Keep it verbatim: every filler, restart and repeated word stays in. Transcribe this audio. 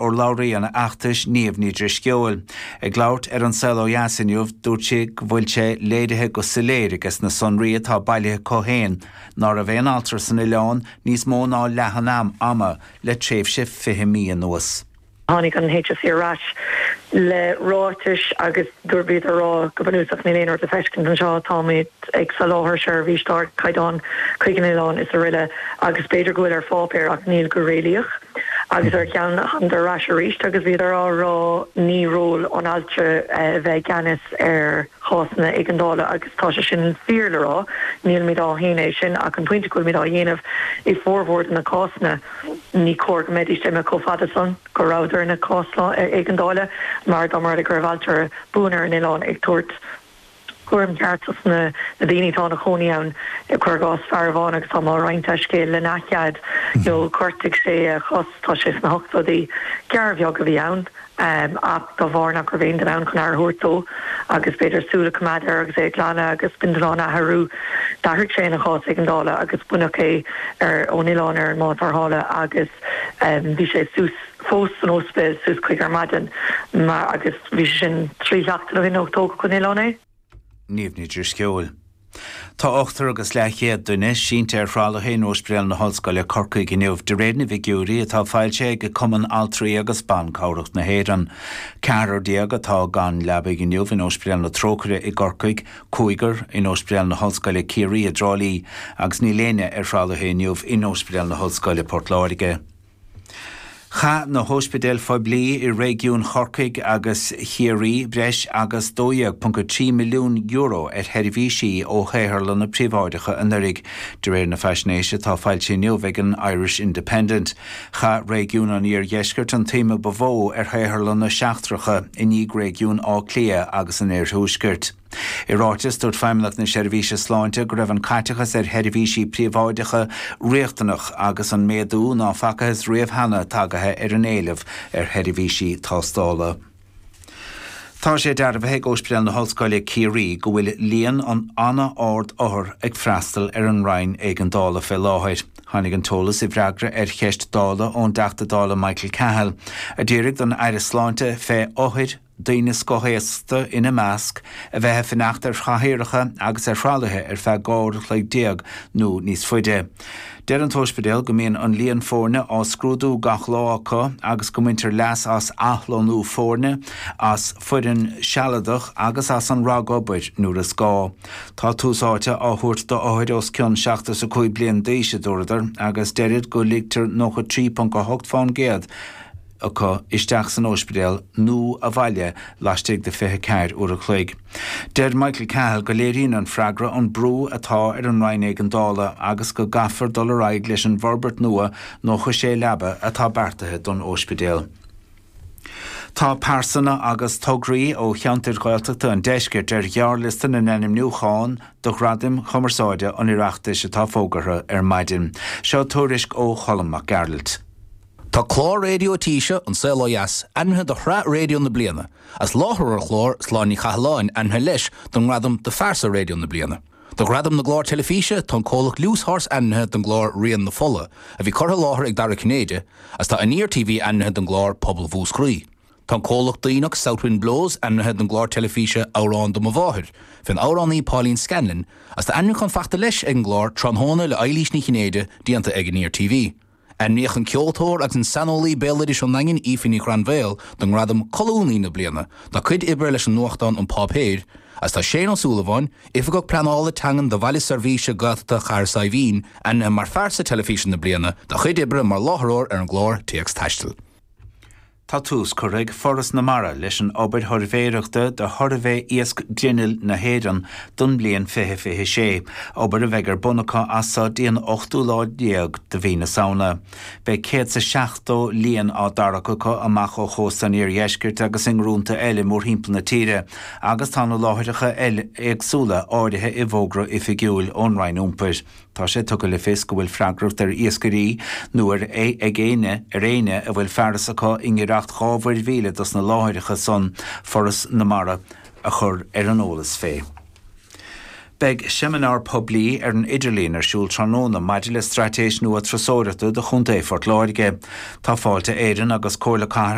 Urlabhraí an fheachtais Niamh Ní Drisceoil. Ag labhairt ar An Saol Ó Dheas inniu dúirt sí go bhfuil sé léirithe go soiléir agus na sonraí atá bailithe acu féin ná raibh aon altra san oileán níos mó ná leath an am ama le tréimhse fiche mí anuas. Tháinig an HSE ar ais le ráitis agus dúirt a rá go bunúsach níl aon rud le feiscint anseo táimid ag soláthar seirbhís d'ardchaighdeán chuig an oileán is araile agus b'fhéidir go bhfuil ar pháipéar ach níl go réalaíoch. agus ar cheann an ar ais arís agus bhíodar á rá ní ról an altra eh, bheith i gceannas ar chásanna éigeandála agus tá sé sin fíor le rá níl mé á shéanadh sin ach an pointe go bhfuil mé á dhéanamh i bhformhór na cásanna ní cóir go mbeidís imithe chomh fada san go rabhadar ina cás éigeandála mar dá mar go raibh altra buan ar an oileán ag tabhairt cúram ceart na na daoine atá ina gcónaí ann cuir i gcás fear amháin agus tá roinnt scéal lena chead nó ghortaigh sé a chos tá sé sna hochtóidí gearr bheag a bhí ann um, ach dá bharr nach raibh aon duine ann chun aire a thabhairt dó agus b'fhéidir súil a choimeád air agus é glanadh agus bindealán a athrú d'athraigh sé ina chás éigeandála agus baineadh é ar ón oileán ar an mbád tarrthála agus um, bhí sé suas fós san ospidéal suas chuig ar maidin mar agus bhí sé sin trí seachtaine ó shin ó tógadh ón oileán é. Niamh Ní Drisceoil. Tá ochtar agus leathchéad duine sínte ar thralaithe in Ospidéal na hOllscoile Corcaigh inniu de réir na bhfigiúirí atá foilsithe ag Cumann Altraí agus Ban Cabhrach na hÉireann. Ceathrar déag atá gan leaba inniu in Ospidéal na Trócaire i gCorcaigh, cúigear in Ospidéal na hOllscoile Ciarraí i dTrá Lí, agus níl éinne ar thralaithe inniu in Ospidéal na hOllscoile Port Láirge. Chaith na hospidéil phoiblí i réigiún Chorcaí agus Chiarraí breis agus dó dhéag ponc a trí milliún euro ar sheirbhísí ó shaotharlanna príobháideacha anuraidh, de réir na faisnéise atá foilsithe inniu ag an Irish Independent. Chaith réigiún an Iardheiscirt an tsuim ba mhó ar shaotharlanna seachtracha i ndiaidh réigiún Átha Cliath agus an Iarthuaiscirt. I ráiteas dúirt Feidhmeannacht na Seirbhíse Sláinte go raibh an caiteachas ar sheirbhísí príobháideacha riachtanach agus an méadú ná facthas riamh cheana tagaithe ar an éileamh ar sheirbhísí tástála. Tá sé dearbhaithe ag Ospidéal na hOllscoile Ciarraí go bhfuil líon an an-ard othar ag freastal ar an Roinn Éigeandála fé láthair. Tháinig an t-eolas i bhfreagra ar cheist Dála ón dTeachta Dála Michael Cahill, a d'iarr don Aire Sláinte fé othair daoine scothaosta ina measc a bheith ag fanacht ar chathaoireacha agus ar thralaithe ar feadh dhá uair a chloig déag nó níos faide. Deir an t-ospidéal go mbíonn an líon foirne á scrúdú gach lá acu agus go mbaintear leas as athlonnú foirne, as foireann sealadach agus as an ragobair nuair is gá. Tá tús áite á thabhairt d'othair os cionn seachtó is a cúig bliain d'aois a dúradar agus deirid go ligtear nócha trí ponc a hocht faoin gcéad acu isteach san ospidéal nó abhaile laistigh de fiche ceathair uair a chloig. Deir Michael Cahill go léiríonn an freagra an brú atá ar an Roinn Éigeandála agus go gcaithfear dul ar aghaidh leis an bhforbairt nua nócha sé leaba atá beartaithe don ospidéal. Tá pearsana agus tograí ó cheantair Ghaeltachta an deiscirt ar ghearrliosta na n-ainmniúchán do Ghradaim Chumarsáide an Oireachtais atá fógartha ar maidin. Seo tuairisc ó Cholm Mac Gearailt. Tá clár raidió taoise An Saol Ó Dheas ainmnithe do shraith raidió na bliana, agus láithreoir an chláir Sláine Ní Chathalláin ainmnithe leis don ngradam do phearsa raidió na bliana. Do ghradam na gclár teilifíse tá an comhlacht Loose Horse ainmnithe don gclár Rian na Fola, a bhí curtha i láthair ag Dara Cinnéide, agus tá Aniar TV ainmnithe don gclár Pobal Mhúscraí. Tá an comhlacht Duíoch Southwind Blows ainmnithe don gclár teilifíse Amhrán do mo Mháthair, fén amhránaí Pauline Scanlon, agus tá ainmniúchán faighte leis ag an gclár Tráthnóna le Eilís Ní Chinnéide déanta ag Aniar TV. Ainmníodh an ceoltóir agus an saineolaí béaloidis ón nDaingean Aoife Ní Ghranmhaoil don ngradam Colúnaí na bliana dá cuid oibre leis an nuachtán An Páipéar, agus tá Shane Ó Súilleabháin, Oifigeach Pleanála Teangan do Bhaile Seirbhíse Gaeltachta Chathair Saidhbhín, ainmnithe mar phearsa teilifíse na bliana dá chuid oibre mar láithreoir ar an gclár Téacs Taistil. Tá tús curtha ag Foras na Mara leis an obair shuirbhéireachta do shuirbhé iasc grinnill na hÉireann don bhliain fiche fiche sé, obair a bheidh ar bun acu as seo dtí an ochtú lá déag de mhí na Samhna. Beidh céad is seachtó líon á dtarrac acu amach ó chósta an iardheiscirt agus i ngrúnta eile mórthimpeall na tíre, agus tá na láithreacha eile éagsúla áirithe i bhfógra oifigiúil ón Roinn Iompair. Tá sé tugtha le fios go bhfuil freagracht ar iascairí nó ar ag éinne ar éinne a bhfuil fearas acu i ngiorracht dhá mhuirmhíle dos na láithreacha san Foras na Mara a chur ar an eolas fé. Beidh seimineár poiblí ar an idirlíon ar siúl tráthnóna maidir le straitéis nua turasóireachta do Chontae Phort Láirge. Tá Fáilte Éireann agus Comhairle Cathrach